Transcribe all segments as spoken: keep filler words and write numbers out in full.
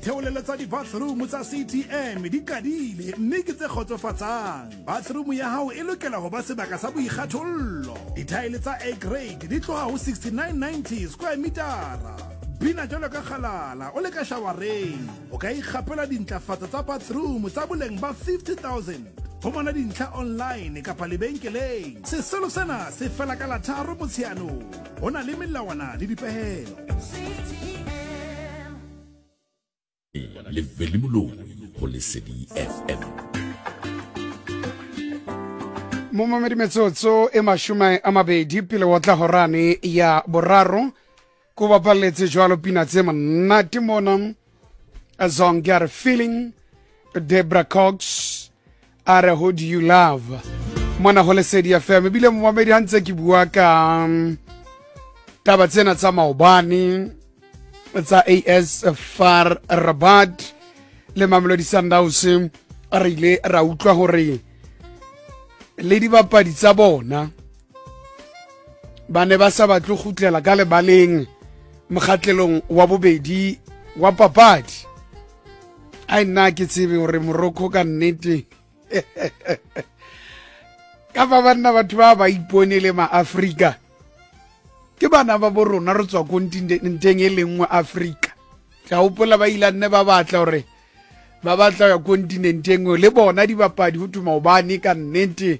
Ditheolelo tsa di-bathroom tsa C T M di qadile mme ke tse kgotsofatsang. Bathroom ya hao e lokela ho ba sebaka sa boikgathollo. Dithaele tsa A grade di tloha ho sixty-nine ninety square metara. Bina jwalo ka kgalala o le ka shawareng. O ka ikgapela dintlafatso tsa bathroom tsa boleng ba fifty thousand. Fumana dintlha online kapa lebenkeleng. Sesolo sena se fela ka la tharo Motsheanong. Ho na le melawana le dipehelo. Le Veli Moloi ho Lesedi F M. Momamedi metsotso e mashome a mabedi pele wa tla horane ya boraro. Ko bapaletse jwalo pina tse monate mona. Zonke Feeling, Debra Cox, a re Who Do You Love mona ho Lesedi F M. Ebile momamedi ha ntse ke bua ka taba tsena tsa maobane tsa A S Far Rabat le Mamelodi Sundowns, re ile ra utlwa hore le dibapadi tsa bona ba ne ba sa batle kgutlela ka lebaleng mokgatlelong wa bobedi wa papadi. Ai nna ke tsebe hore Morocco ka nnete ka ba banna batho ba ba ipone le maAfrika ke bana ba bo rona re tswa kontinenteng e le nngwe Afrika. Tla hopola ba ile nne ba batla hore ba batla ya kontinenteng le bona dibapadi ho thuma hobane ka nnete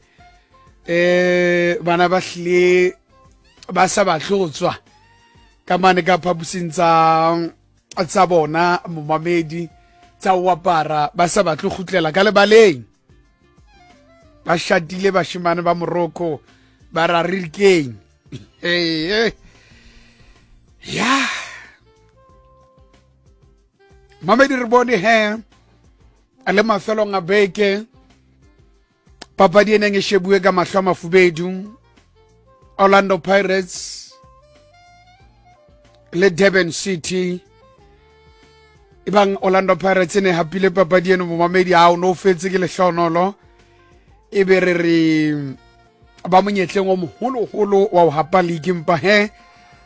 eh bana ba hlile ba sa batle ho tswa ka mane ka phapusing tsa tsa bona momamedi tsa ho apara, ba sa batle kgutlela ka lebaleng. Ba shatile bashimane ba Morocco ba ra re keng. Hey, ya mamedi re bone he a le mafelong a beke papadi e neng e shebuwe ka mahlo a mafubedu, Orlando Pirates le Durban City. Ebang Orlando Pirates e ne hapile papadi eno momamedi ha o no fetse ke lehlonolo e be re re ba monyetleng o moholoholo wa ho hapa league, empa he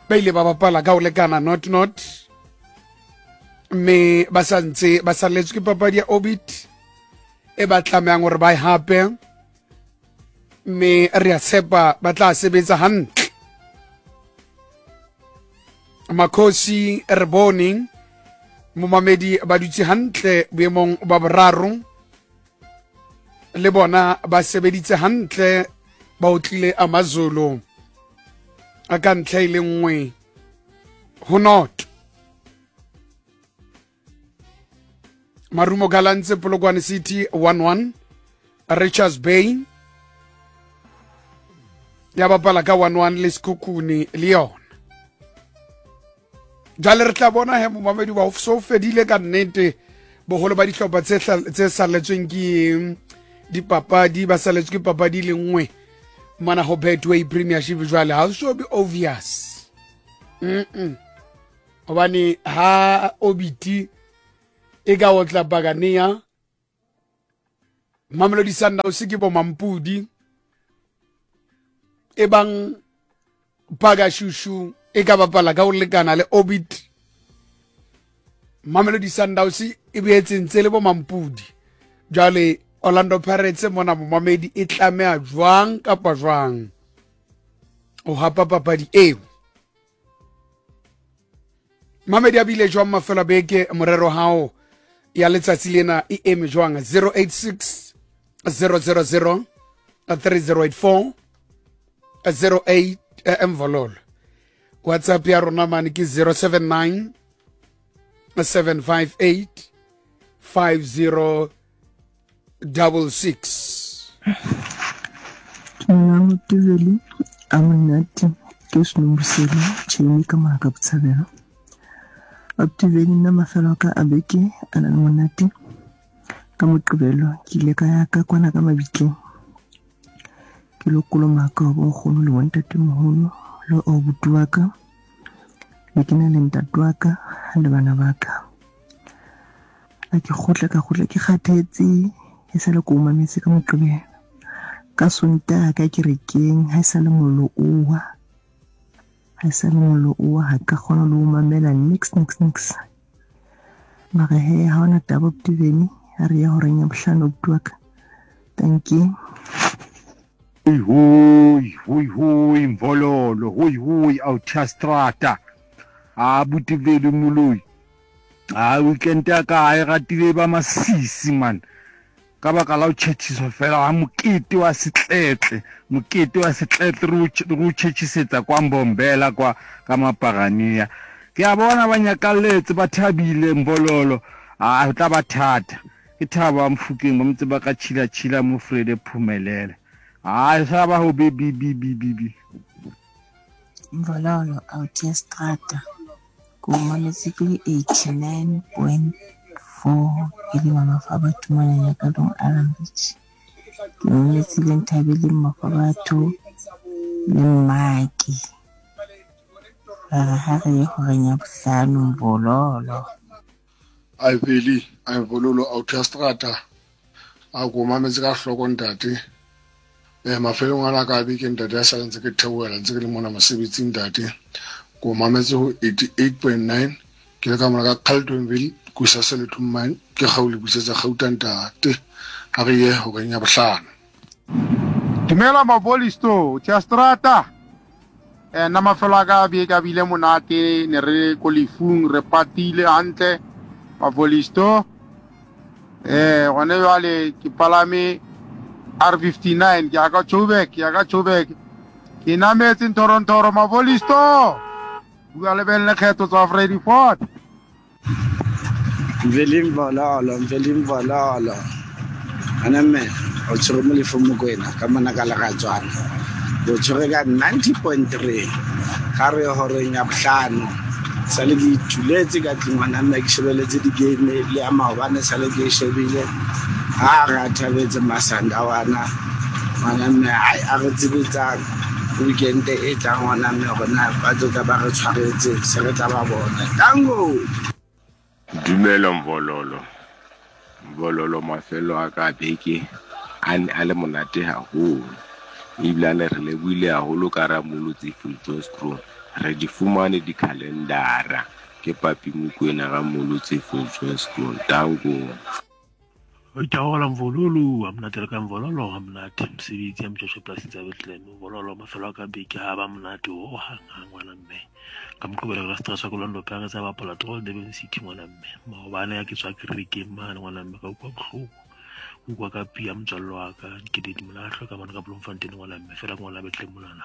ba ile ba bapala ka ho lekana not not, mme ba sa ntse ba salletswe ke papadi ya Orbit e ba tlamehang hore ba e hape, mme re a tshepa ba tla sebetsa hantle. Makhosi re bone momamedi ba dutse hantle boemong ba boraro, le bona ba sebeditse hantle, ba otlile AmaZulu a ka ntlha e le nngwe ho not. Marumo Gallants Polokwane City one one, Richards Bay ya bapala ka one one le Sekhukhune le yona. Jwale re tla bona he momamedi ba so fedile ka nnete boholo ba dihlopha tse tse salletsweng ke dipapadi ba salletswe ke papadi le nngwe mana ho Betway Premiership. Jwale ha so be obvious mm hobane ha Obiti e ka otla Bagania, Mamelodi Sundowns ke bo Mampudi, e bang Bagashushu e ka bapala ka ho lekana le Orbit, Mamelodi Sundowns e boetse ntse le bo Mampudi. Jwale Orlando Pirates mona momamedi e tlameha jwang kapa jwang ho hapa papadi eo. Mamedi a bile jwang mafelo a beke, morero hao ya letsatsi lena e eme jwang? Zero eight six zero zero zero three zero eight four zero eight mvololo. WhatsApp ya rona mane ke zero seven nine seven five eight five zero double six. Dumelang Tuveli, a monate ke Senomboselo tjhemi ka maka botshabelo. Tuveli nna mafelo a ka a beke a na le monate. Ka Moqebelo ke ile ka ya ka kwana ka mabitleng, ke lo kolomaka wa bonkgono le bontatemoholo le abuti wa ka, le ke na le ntate wa ka le bana ba ka. A ke kgotla ka kgotla ke kgathetse, e sale ko mametse ka Moqebelo. Ka Sontaha ka kerekeng ha e sale mollo owa, ha e sale mollo owa ha ka kgona le ho mamela nix nix nix. Mara he ha hona taba abuti Veli, ha re ya horeng ya bohlano abuti wa ka. Dankie. Hoi hoi, hoi hoi, Mvololo, hoi hoi, Autiastrata. Abuti Veli Moloi. A weekend ya ka e ratile ba masisi man. Ka baka la ho tjhetjhiswa fela ha mokete wa setletle, mokete wa setletle re o tjhetjhisetsa kwa Mbombela kwa ka Maparania. Ke a bona ba nyakalletse ba thabile Mbololo. A tla ba thata. Ke thaba wa Mfukeng ba motse ba ka tshila tshila mo Frede Phumelele. A sa ba ho be bi bi bi bi bi. Mvololo Autiastrata. Ko mametse ke le eighty-nine point four ke le mama fa batho mona ya ka Long Island Beach. Ke mametse le Nthabeleng Mafa batho le Mmaki. Ba re ha re ye horeng ya bohlano Mvololo. Ai Veli, ai Mvololo Autiastrata. A ko mametse ka hloko ntate. Eh mafelong ana ka beke ntate a sa ntse ke theohela ntse ke le mona mosebetsing ntate. Ko mametse ho eighty-eight point nine ke le ka mona ka Carltonville Kusaselethu mine ke gaule busetsa Gauta ntate. Ha re ye horeng ya bohlano. Dumela Mabolisto, Autiastrata. Eh nna mafelo a ka beke a bile monate, ne re ko lefung re patile hantle Mabolisto. Eh gone jwale ke palame R fifty-nine ke ya ka Joburg, ke ya ka Joburg. Ke nametse Ntorontoro Mabolisto. Bua le ben lekgetho tsa Freddy Ford. Veli Mvololo, Veli Mvololo. Ana mme o tshwere mo lefong Mokwena ka mona ka Leratswana. O tshwere ka ninety point three ga re horeng ya bohlano. Sale ke ituletse ka tlung ngwana mme ke shebeletse di-game le ya maobane sale ke e shebile. Ha re a thabetse Masandawana ngwana mme ai a re tsebetsang weekend e tlang ngwana mme rona ba tlo tla ba re tshwaretse se re tla ba bona. Tango. Dumela Mvololo. Mvololo mafelo a ka beke a ne a le monate haholo. Ebile re lebohile haholo ka Ramolotsi Viljoenskroon. Re di fumane dikhalendara ke Papi Mokwena Ramolotsi Viljoenskroon. Tango. Itaola Mvololo, a monate le ka Mvololo, a monate mosebetsi ya Mtshosho polasing tsa Bethlehem. Mvololo mafelo a ka beke ha ba monate ho hang hang ngwana mme. Ka moqobelo ka stress wa Orlando Pirates a bapala Troll Durban City ngwana mme. Maobane ya ke tswa kerekeng mane ngwana mme ka utlwa bohloko. Utlwa ka pia motswalle wa ka Dikeledi Molahlwa ka mane ka Bloemfontein ngwana mme fela ngwana Bethlehem monana.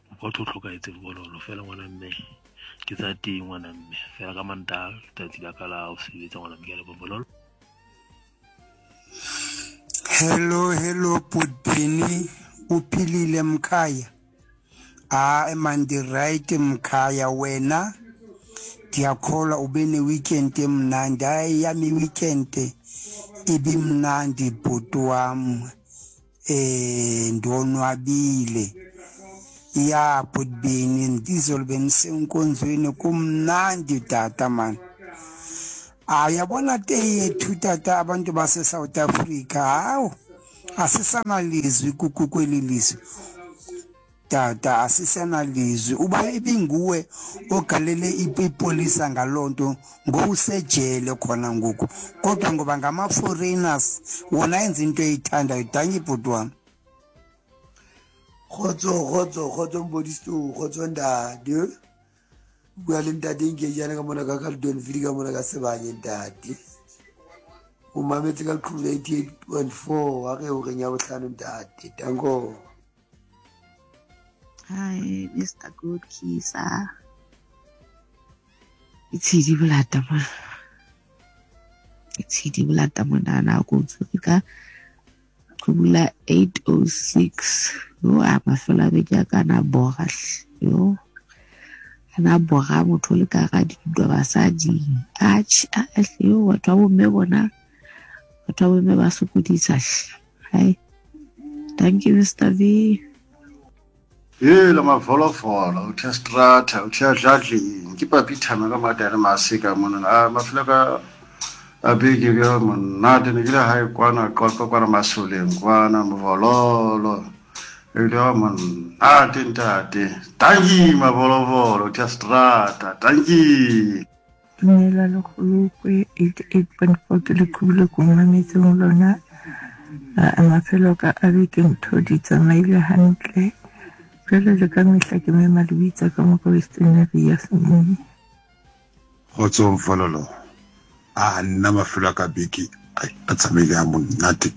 Utlwa ho hlokahetse Mvololo fela ngwana mme. Ke tsa teng ngwana mme fela ka Mantaha letsatsi la ka la ho sebetsa ngwana mme ke a leboha Mvololo. Hello, hello, Putini, uphilile mkhaya. Ah, mandi right mkhaya wena. Ndiyakholwa ube ne weekend emnandi. Hayi yami weekend ibimnandi bhuti wam. Eh ndonwabile. Ya Putini ndizolo bendisenkonzweni kumnandi tata man. Ah, uyabona te yethu tata abantu base South Africa hawu asisanalizwi kweli lizwe tata asisanalizwi uba ibinguwe ogalele ipolisa ngalonto ngowusejele khona ngoku kodwa ngoba ngama foreigners wona enza into eyithandayo. Dankie bhuti wami. Kgotso kgotso kgotso Mbodisto, kgotso ntate. Bua le ntate Nkejane ka mona ka Carltonville ka mona ka Sebanye ntate. O mametse ka Qhubu eighty-eight point four ha re horeng ya bohlano ntate. Danko. Hi Mister Good Kisa. Itshedi bolata mo. Itshedi bolata monana ko tshwere ka Qhubula eight oh six. Yo a mafelo a beke a kana bora yo. Ana bora motho le ka ga dintwa basadi. Atjhe a yo batho ba bomme bona. Batho ba bomme ba sokodisa. Hi. Thank you Mister V. Hela mavolofolo, uthe strata, uthe dladlini, ke papi thama ka matare masika mona. A mafelo ka a beke bja monate ne ke le hae kwana Qwaqwa kwana Masoleng kwana Mvololo. Ebile wa monate ntate. Tanki mavolofolo, uthe strata, tanki. Dumela Lekgolokwe eighty-eight point four ke leqhubu le ko mametseng lona. A mafelo ka a beke ntho di tsamaile hantle. Jwale le ka mehla ke mema le bitsa ka mo ka Western Area Semong. Kgotso Mfololo. A nna mafelo a ka beke a tsamaile ha monate.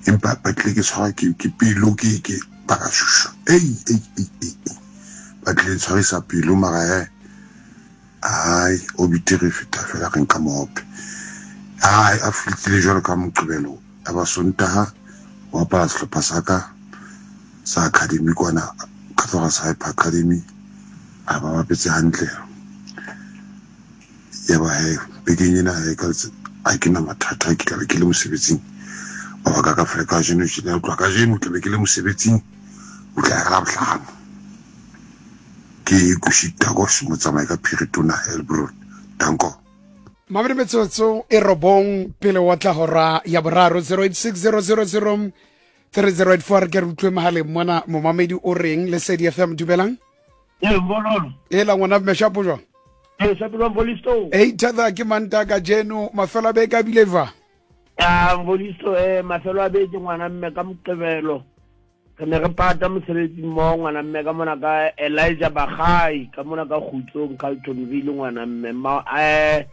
Empa ba tlile ke tshwarwa ke ke pelo ke ke ba ka shushu. Ei ei ei ei. Ba tlile tshwarisa pelo mara he. Ai o bitere feta fela re nka mohope. Ai a fitile jwalo ka Moqebelo. A ba Sontaha wa apara sehlopha sa ka sa academy kwana Kathoras Hyper Academy. A ba bapetse hantle. Ya ba he bekeng ena he ka a ke na mathata ke tla be ke le mosebetsing. Mabaka ka fela kajeno ke tla utlwa kajeno tla be ke le mosebetsing o tla ya Labohlano. Ke kushita go motsamai ka Phiritona Helbron. Danko. Mabedi metsotso e robong pele wa tla hora ya boraro zero eight six zero zero zero three zero eight four ke re utlwe mohaleng mona momamedi o reng Lesedi F M dumelang. E Mbololo. E la ngwana meshapo jwang? E shapelo Mbolisto. E ithatha ke manta ka jeno mafelo a beke a bile va. Ah Mbolisto eh mafelo a beke ngwana mme ka Moqebelo. Re ne re pata mosebetsi mo ngwana mme ka mona ka Elijah Bagai ka mona ka Kgutsong Carltonville ngwana mme ma eh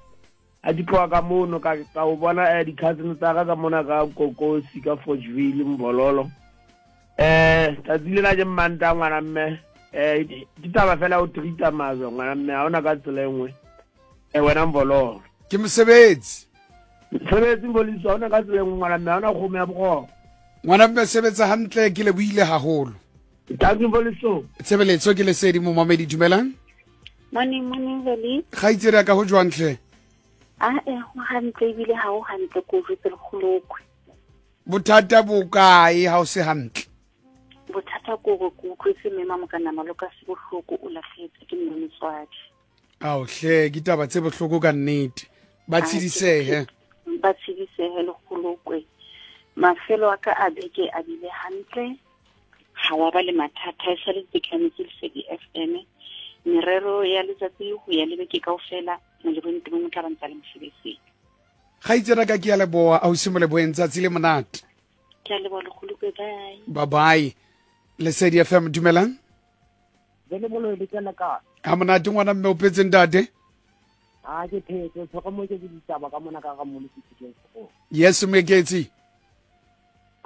a di tloha ka mono ka ka o bona eh di-cousin tsa ka ka mona ka Kokosi ka Forgeville Mbololo. Eh tsatsi lena ke mmanta ngwana mme eh ke taba fela o treat-a mazwe ngwana mme ha ona ka tsela e nngwe. Eh wena Mbololo. Ke mosebetsi. Mosebetsi Mboliso ha ona ka tsela e nngwe ngwana mme ha ona kgomo ya boroko. Ngwana mme sebetsa hantle ke le buile haholo. Thank you Mboliso. Tshebeletso ke Lesedi momamedi dumelang. Morning morning Veli. Kgaitsedi ya ka ho jwang hle? Ah eh ho hantle ebile ha ho hantle ko jwetse Lekgolokwe. Bothata bo kae ha o se hantle? Bothata ko go ke utlwetse mme mokana maloka se bohloko o lahlehetswe ke mme motswadi. Ao hle ke taba tse bohloko ka nnete. Ba tshidisehe. Ba tshidisehe Lekgolokwe. Mafelo a ka a beke a bile hantle. Ha wa ba le mathata e sale ke tlametse Lesedi F M. Merero ya letsatsi ho ya le beke kaofela molebong teng mo tla ba ntsa le mosebetsing. Kgaitsedi ka ke ya leboha ausi Moleboheng tsatsi le monate. Ke a leboha Lekgolokwe bye. Bye bye. Lesedi F M dumelang. Jele bolo le tsena ka. Ha monate ngwana mme o phetse ntate? Ha ke phetse tshoko mo ke ditaba ka mona ka ga mo le go. Yes Meketsi.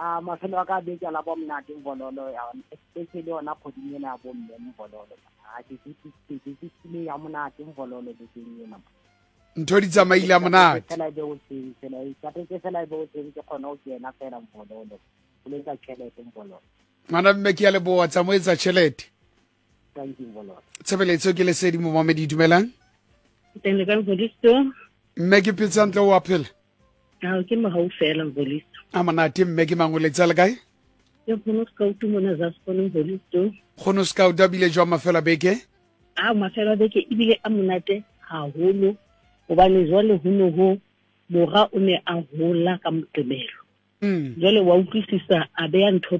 A mafelo a ka beke la bo monate Mbololo ya especially yona kgoding ena ya bo mme Mbololo. A ke ke ke ke ke ya monate Mbololo bekeng ena. Ntho di tsamaile ya monate. Fela be o teng fela e ka ke fela be o teng ke kgona ho kena fela Mbololo. O letsa tjhelete Mbololo. Ngwana mme ke ya leboha tsa mo etsa tjhelete. Thank you Mbololo. Tshebeletso ke Lesedi momamedi dumelang. Teng le ka Mbolisto. Mme ke phetse hantle o a phela? Ha ke mohau fela Mbolisto. A monate mme ke mangoletsa le kae? Ke kgono scout mona za sekolo Mbolisto. Kgono scout a bile jwang mafelo a beke? A mafelo a beke ebile a monate haholo hobane jwale ho no ho mora o ne a hola ka Moqebelo. Mm. Jwale wa utlwisisa a beya ntho